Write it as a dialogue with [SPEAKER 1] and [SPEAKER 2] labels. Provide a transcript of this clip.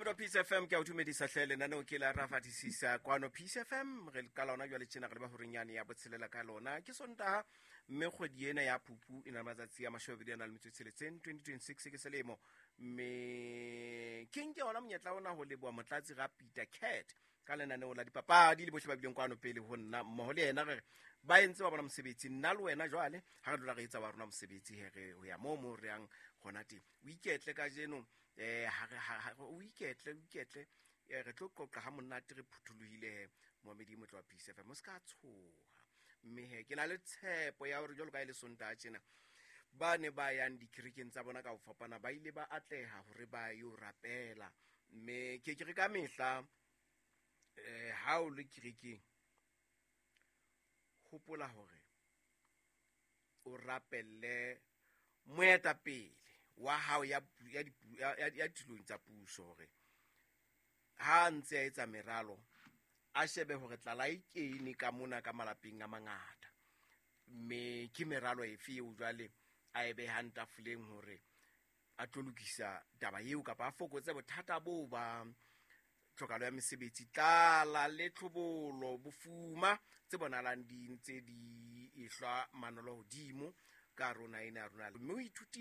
[SPEAKER 1] Momedi wa Peace FM, ke a o dumedisa hle. Lenaneo ke la Rafatisisa kwano Peace FM. Re ka lona jwale tjena re leba horenyane ya botshelela ka lona. Ke Sontaha, mme kgwedi ena ya Phupu e na le matsatsi a 22 a na le metso e tsheletseng, 2026 ke selemo. Mme ke nke ona monyetla ona ho leboha Motlatsi ga Peter Cat ka lenaneo la dipapadi le bohle ba bileng kwano pele ho nna mmoho le yena. Re re ba entse ba bona mosebetsi, nna le wena jwale ha re dula re etsa wa rona mosebetsi, he re ho ya moo mo re yang gona teng. O iketle kajeno, o iketle, o iketle. Re tlo qoqa ha monate, re phuthulohile he. Moamedi motle wa Peace FM, o se ka tshoha. Mme he ke na le tshepo ya hore jwalo ka e le Sontaha tjena, ba ne ba yang dikerekeng tsa bona ka ho fapana ba ile ba atleha hore ba yo rapela. Mme ke re ka mehla, ha o le kerekeng, hopola hore o rapelle moetapele wa hao ya tulong tsa puso, hore ha a ntse a etsa meralo a shebe hore tlala e kene ka mona ka malapeng a mangata, mme ke meralo efe eo jwale a e behang tafoleng hore a tlo lokisa taba eo kapa a fokotse bothata boo ba tlhokalo ya mesebetsi, tlala le tlhobolo, bofuma tse bonahalang di ntse di ehlwa manolo hodimo ka rona ena ya rona. Mme o ithutile.